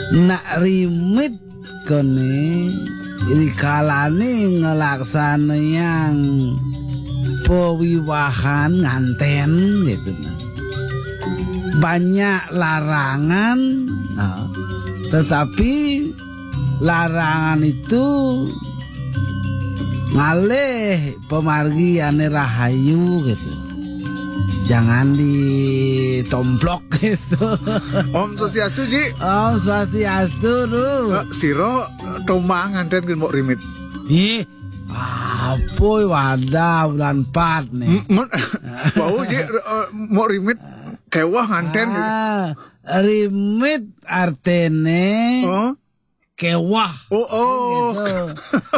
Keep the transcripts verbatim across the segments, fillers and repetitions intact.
Nak rimit kene, rikalane ngelaksanayang pewiwahan nganten gitu, nah. Banyak larangan, nah, tetapi larangan itu ngalih pemargi ane rahayu gitu. Jangan ditomplok gitu. Om Swastiastu, Ji. Om Swastiastu, Ru. Eh, sira, eh, tombang nganten ke Mbok Rimit. Ih, apa wadah bulan empat nih. M-, mun, bau, Ji, eh, Mbok Rimit kewah nganten. Ah, rimit artene Oh. kewah. Oh, oh. Gitu.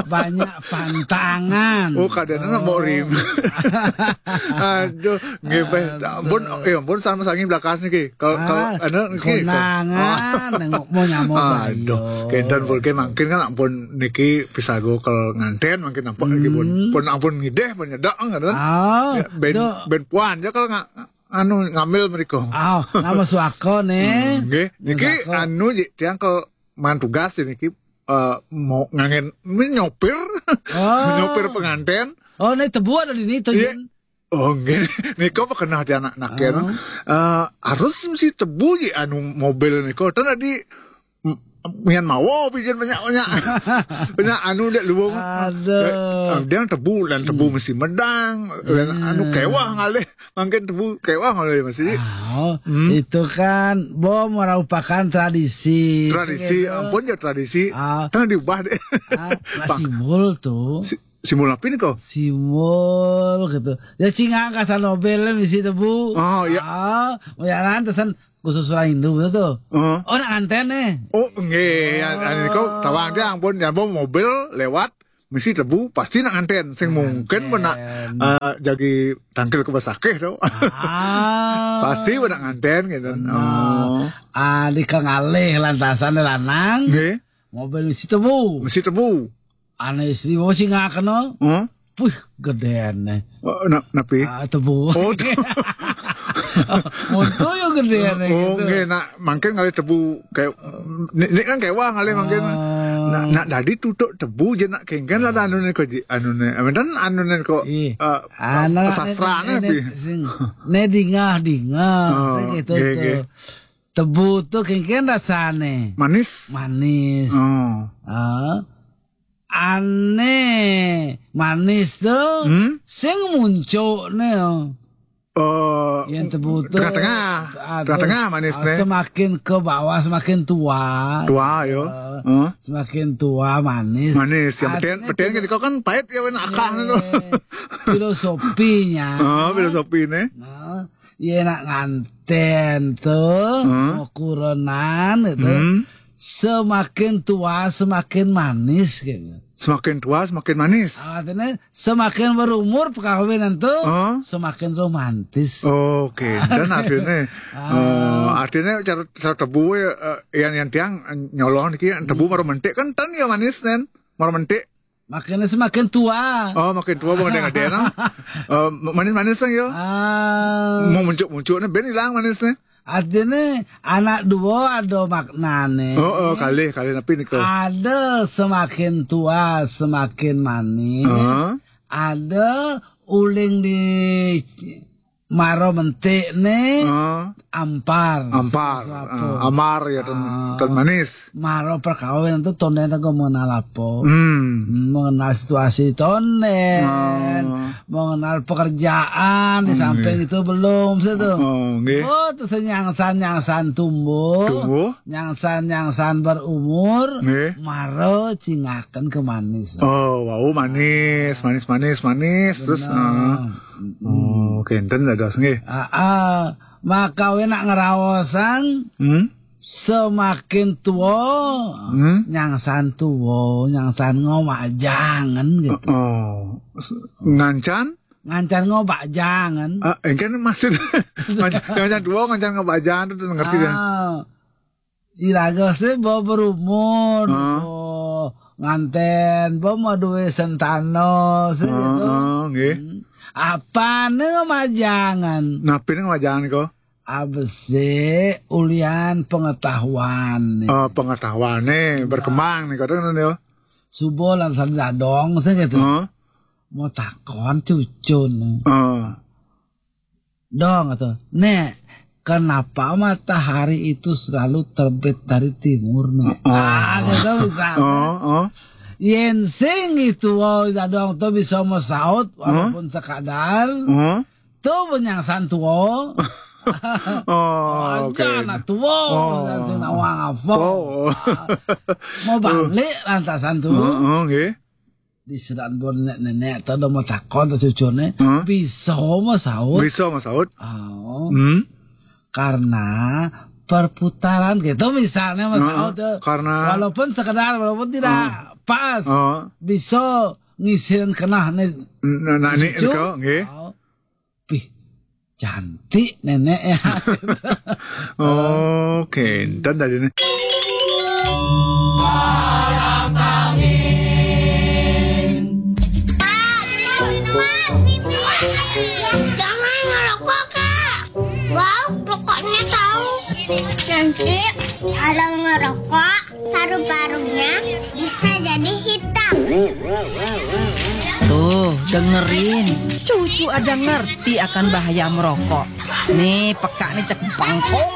Banyak pantangan. Oh, kadang nak mau rim. Aduh, nggih, Beh. Ampun, ya ampun, sama sangi belakas niki. Kalau, kalau, Ah, anu, niki, konangan, nengok mau nyamuk Aduh, lah, iya. Kenten pun ke mangkin kan ampun niki pisago kalau nganten mangkin ampun niki pun, Hmm. pun ampun ngideh, pun nyedak, kan? Ah, Ya, ben, Dok. ben puan aja kalau nggak, anu, ngambil mereka. Ah, nama suaka nih. Hmm, nggih. Niki Suaka. Anu, Ji, tiang kalau man tugas niki, eh, mau ngangen, ini nyopir. Oh. Nyopir penganten. Oh, ini tebu ada di ini tuh, Iya. Jin. Oh, nggih. Nika apa kena dia anak-anak ya, no? Oh. Eh, harus mesti tebu, Ji, anu mobil nika. Tan tadi, m-, mian mawa pijen banyak-banyak. Banyak anu dek luwung. Aduh. Eh, dia tebu, dan tebu Hmm. mesti medang, dan anu Hmm. kewah ngalih, mangkin tebu kewah ngalih mesti. Ah, oh, Hmm. itu kan bom merupakan tradisi. Tradisi, Gitu. ampun ya tradisi. Ah. Kan diubah deh. Ah, Bang. Simbol tuh. Si-, simbol apa nih kok? Simbol gitu. Ya cingak kasar nobel misi tebu. Oh, iya. Ah, mau jalan tesan khusus orang Hindu gitu tuh. Heeh. Oh, nak nganten nih. Oh, nggih, ya, Oh. anu niku tawang dia ampun, ya, ampun mobil lewat mesti tebu pasti nak nganten. Sing mungkin pun nak, Nganten. eh, jagi tangkil ke besakeh tuh. Ah. Pasti pun nak nganten gitu. Benar. Oh. Ah, di kangalih lantasan lanang. Nggih. Mobil mesti tebu. Mesti tebu. Ane istri mau sih ngakeno. Huh? Puh, gedean nih. Oh, na-, napi? Ah, tebu. Oh, te- Monto yo gedean nih Oh, gitu. Nggih, nak mangkin ngalih tebu kayak ni, ni kan kewah ngalih mangkin. Ah. Nak, nak dadi tutuk tebu je nak kengken lah anu ni kok ji, anu ni. Amin dan anu ni kok, Ih. eh, Anak sastra ni, ni, ni, pi. Sing, ne dingah-dingah, Oh, sing gitu nggih, tuh. Nggih. Tebu tuh kengken rasane. Manis. Manis. Oh. Ah. Ane manis tuh Hmm? sing muncul nih. Oh. Yang tebu tuh Tengah-tengah. Aduh, Tengah-tengah manis ah, nih. Semakin ke bawah semakin tua. Tua yo. Eh, Huh? Semakin tua manis. Manis. Yang peten, Artinya peten filo-, kan kau kan pahit ya, wena akah Iya. Tuh. Filosofinya. Oh, filosofi nih. Nah, iya nak nganten tuh, Huh? Mau kurenan gitu. Hmm. Semakin tua semakin manis gitu. Semakin tua semakin manis. Artinya semakin berumur perkawinan tuh Huh? Semakin romantis. Oke, dan artinya, Ah. eh, artinya cara, cara tebu ya, eh, yang, yang tiang, eh, nyolong niki, tebu Hmm. Maro mentik kan tan ya manis kan, maro mentik. Makanya semakin tua. Oh, makin tua bukan dengan dia, no? Eh, manis-manis sang yo. Ah. Mau muncul-muncul nih, ben hilang manisnya. Artinya anak dua ada maknane. Oh, oh, kalih, kalih napi nika? Ada semakin tua semakin manis. Heeh. Ada uling di maro mentik nih Heeh. Ampar. Ampar. Sing apa? Ah, amar ya, tan, Ah. tan manis. Maro perkawinan tuh tonden aku mengenal apa? Hmm. Hmm, mengenal situasi tonden, Ah. mengenal pekerjaan di Hmm, samping iya. Itu belum situ. Oh, nggih. Oh, tuh nyangsan-nyangsan tumbuh, Tumbuh. Nyangsan-nyangsan berumur, Nggih. Maro cingaken ke manis. Oh, wau manis, manis, manis, manis, terus, Benar. Ah. Mm-mm. Oh, kenten dados nggih. Ah, ah. Maka we nak ngeraosan, Hmm? Semakin tua, Hmm? Nyangsan tua, nyangsan ngomajangan gitu. Oh, s-, ngancan? Ngancan ngomajangan. Ah, engken maksud, ngancan, ngancan tua, ngancan ngomajangan tuh ngerti kan? Ah. Iraga sih bo berumur, Ah. Bo nganten, bo mau duwe sentano, sih Ah, gitu. Ah, nggih. Hmm. Apa nih ngomajangan? Napi nih ngomajangan kok? Abese ulian pengetahuan nih. Oh, pengetahuan nih berkembang nih kadang ya. Subo lan Dadong sing gitu. Heeh. Mau takon cucu nih. Heeh. Dong tuh. Nek, kenapa matahari itu selalu terbit dari timur nih? Ah, gitu misalnya. Oh, oh. Yen sing itu Dadong tuh bisa masaut walaupun sekadar. Heeh. Tuh benyang santuo. Oh, oke. Aja anak tuo. Oh. Dan sing nawang apa. Oh. Mau balik lantasan tuh. Heeh, nggih. Di sedan bon nenek-nenek tuh udah mau takon tuh cucune. Heeh. Bisa masaut. Bisa masaut. Oh, Hmm. Karena perputaran gitu misalnya masaut Heeh, tuh. Karena- Walaupun sekedar walaupun tidak pas. Heeh. Bisa ngisin kena nih. Nah, nah, ini Cucu? Eko, nggih. Oh. Pih, cantik nenek ya. Oke, dan dari ini. Jangan ngerokok, Kak. Bau rokoknya tahu. Nanti kalau ngerokok, paru-parunya bisa jadi hitam. Tuh, dengerin. Cucu aja ngerti akan bahaya merokok. Nih, peka nih cek bangkong.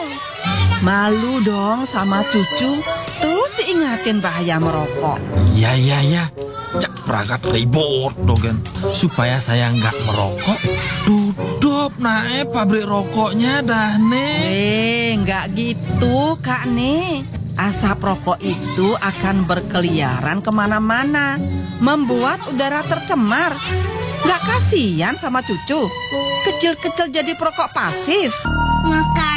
Malu dong sama cucu. Terus diingatin bahaya merokok. Iya, iya, iya. Cak pragat ribut dogen. Supaya saya nggak merokok, tutup nae pabrik rokoknya dah nih. Eh, nggak gitu, Kak nih. Asap rokok itu akan berkeliaran kemana-mana, membuat udara tercemar. Nggak kasihan sama cucu? Kecil-kecil jadi perokok pasif. Maka